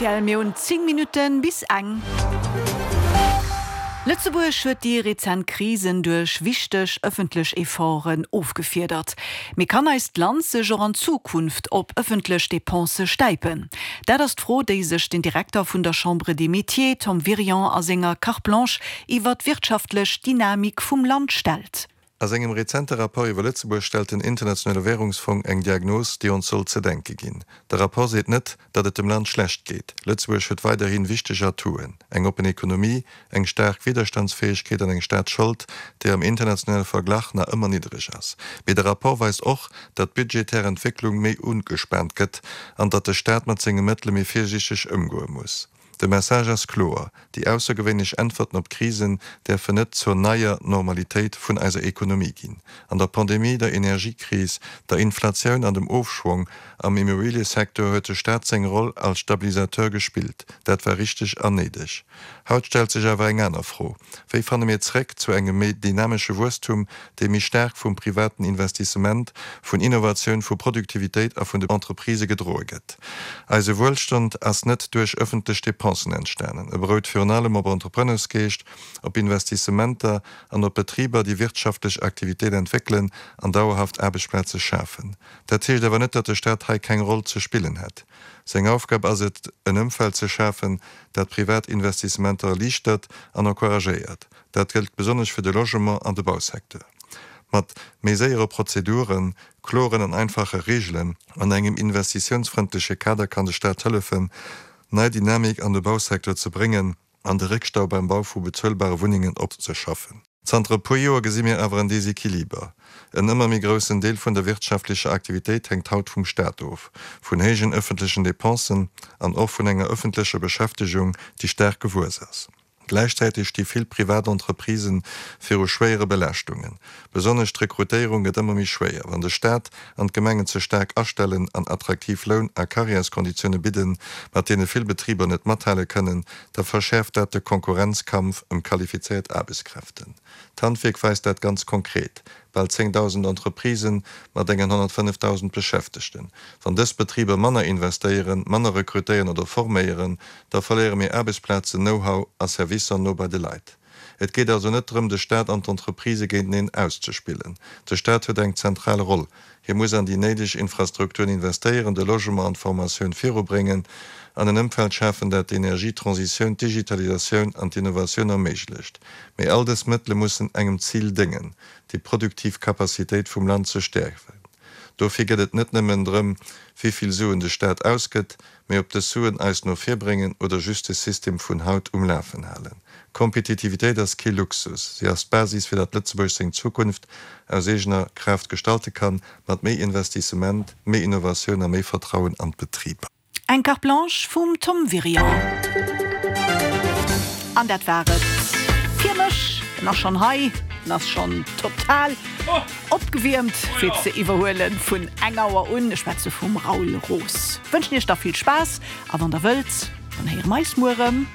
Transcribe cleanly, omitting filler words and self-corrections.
Rtl, mir hunn 10 Minutten bis eng. Lëtzebuerg huet déi rezent Krisen duerch wichteg ëffentlech Efforten ofgefiedert. Mee kann eist Land sech och an Zukunft op ëffentlech Depensë stäipen? Dat ass d'Fro, déi sech den Direkter vun der Chambre des Métiers, Tom Wirion, a senger Carte Blanche iwwer d'wirtschaftlech Dynamik vum Land stellt. A sengem rezente Rapport iwwer Lëtzebuerg stellt den Internationale Währungsfong eng Diagnos, déi ons soll ze denke ginn. De Rapport seet net, datt et dem Land schlecht geet. Lëtzebuerg huet weiderhi wichteg Atouen, eng oppen Ekonomie, eng staark Widderstandsfäegkeet an eng Staatsschold, déi am internationale Verglach nach ëmmer niddereg ass. Mee de Rapport weist och, datt d'budgetär Entwécklung méi ugespaant gëtt an datt de Staat mat senge Mëttele méi virsiichteg ëmgoe muss. De Message ass kloer, Déi aussergewéinlech Äntwerten op d'Krisen däerfen net zur neier Normalitéit vun eiser Ekonomie ginn. An der Pandemie, der Energiekris, der Inflatioun an dem Ofschwong am Immobiliësecteur huet de Staat seng Roll als Stabilisateur gespillt. Dat war richteg an néideg. Haut stellt sech awer eng aner Fro, Wéi fanne mir zréck zu engem méi dynamesche Wuesstum, dee méi staark vum privaten Investissement, vun Innovatioun, vu Produktivitéit a vun de Entreprisë gedroe gëtt? Eise Wuelstand ass net duerch ëffentlech Dépensen entstanen. E berout virun allem op Entrepreneursgeescht, op Investissementer an op Betriber, déi wirtschaftlech Aktivitéit entwéckelen an dauerhaft Aarbechtsplaze schafen. Dat heescht awer net, datt de Staat hei keng Roll ze spillen hätt. Seng Aufgab ass et, en Ëmfeld ze schafen, dat privat Investissementer erliichtert an encouragéiert. Dat gëllt besonnesch fir de Logement an de Bausecteur. Mat méi séiere Prozeduren, kloren an einfache Reegelen an engem investitiounsfrëndleche Kader kann de Staat hëllefen, nei Dynamik an de Bausecteur ze bréngen an de Réckstau beim Bau vu bezuelbare Wunnengen opzeschaffen. Zanter e puer Joer gesi mir awer en Desequiliber. En ëmmer méi groussen Deel vun der wirtschaftlecher Aktivitéit hänkt haut vum Staat of, vun héijen ëffentlechen Dépensen an och vun enger ëffentlecher Beschäftegung, déi staark gewuess ass. Gläichzäiteg sti vill privat Entreprisë viru schwéiere Belaaschtungen. Besonnesch d'Rekrutéierung gëtt ëmmer méi schwéier. Wann de Staat an d'Gemengen ze staark astellen an attraktiv Loun a Karriärskonditioune bidden, mat deene vill Betriber net mathale kënnen, da verschäerft dat de Konkurrenzkampf ëm qualifizéiert Aarbechtskräften. D'Handwierk weist dat ganz konkret, bal 10.000 Entreprisen mat engen 105.000 Beschäftegten. Wann dës Betriber manner investéieren, manner rekrutéieren oder forméieren, da verléiere mir Aarbechtsplazen, Know-how a Servicer no bei de Leit. Et geet also net drëm, de Staat an d'Entreprisë géinteneen auszespillen. De Staat huet eng zentral Roll. Hie muss an déi néideg Infrastrukturen investéieren, de Logement an d'Formatioun virubréngen an en Ëmfeld schafen, dat d'Energietransitioun, d'Digitalisatioun an d'Innovatioun erméiglecht. Mee all dës Mëttele mussen engem Zil déngen, déi produktiv Capacitéit vum Land ze stäerken. Dofir gëtt et net nëmmen drëm, wéi vill Suen de Staat ausgëtt, mee ob dës Suen eis no vir bréngen oder just de System vun haut um Lafen halen. Kompetitivitéit ass kee Luxus, si ass d'Basis fir datt Lëtzebuerg seng Zukunft aus eegener Kraaft gestalte kann, mat méi Investissement, méi Innovatioun a méi Vertrauen an d'Betriber. Eng Carte Blanche vum Tom Wirion. An dat war et fir mech. En ass schonn hei, en ass schonn total opgewiermt fir ze iwwerhuelen vun eng Auer un. Ech schwätze vum Raoul Roos. Wënschen iech da vill Spaass a wann der wëllt, dann héiere mer eis muer erëm.